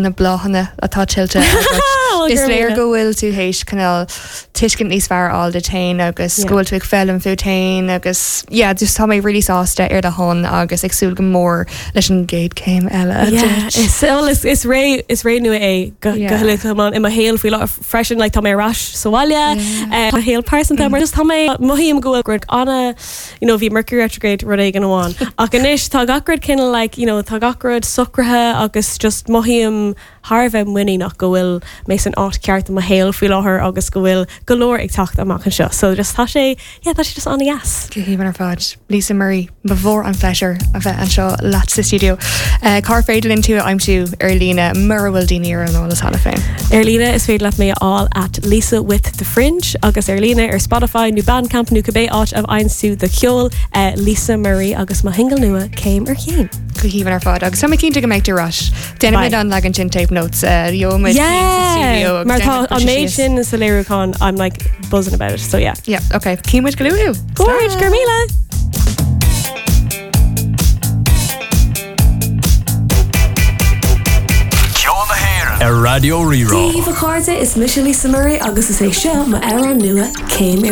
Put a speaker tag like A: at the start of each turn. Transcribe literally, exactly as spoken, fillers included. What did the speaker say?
A: Na bláthanna atá tuillte. Is léir go bhfuil tú théis cineál tuiscint níos fearr a fháil duit féin agus go bhfuil tú ag foghlaim fút féin agus yeah, just tá mé really sásta ar do shon agus ag súil go mór leis an gcéad céim eile.
B: Is is is ré is ré nua é go go i mo shaol faoi láthair freisin like, tá mé ar ais sa bhaile mo shaol pearsanta mar just tá mé mothaím go bhfuil rud anna you know, bhí Mercury retrograde rud éigin amháin. Ach anois tá gach rud cineál like, you know, tá gach rud socraithe agus just mothaím thar a bheith muiníneach go bhfuil mé san áit ceart i mo shaol faoi láthair agus go bhfuil go leor ag teacht amach anseo. So just tá sé yeah, tá sé just an-deas.
A: Go haoibhinn ar fad. Lisa Murray ba mhór an pléisiúr a bheith anseo leat sa studio. Uh, Cár féidir linn tú a aimsiú ar líne mura bhfuil daoine ar an eolas cheana féin.
B: Ar líne is féidir leat mé a fháil at Lisa with the Fringe agus ar líne ar Spotify nó Bandcamp nó cibé áit a bhfaigheann tú do cheol uh, Lisa Murray agus mo shingil nua céim ar chéim.
A: Go haoibhinn ar fad agus tá mé cinnte go mbeidh tú ar ais. Déanaimid an leagan sin tape notes gheobhaimid
B: Yeah! Mar tá an méid sin sa léiriúchán I'm like buzzing about it so yeah.
A: Yeah, okay. Címid go luath.
B: Gorge gur míle!
C: Ceol na hÉireann ar Raidió Rí-Rá.
D: Dia daoibh a chairde is mise Lisa Murray agus is é seo m'amhrán nua céim ar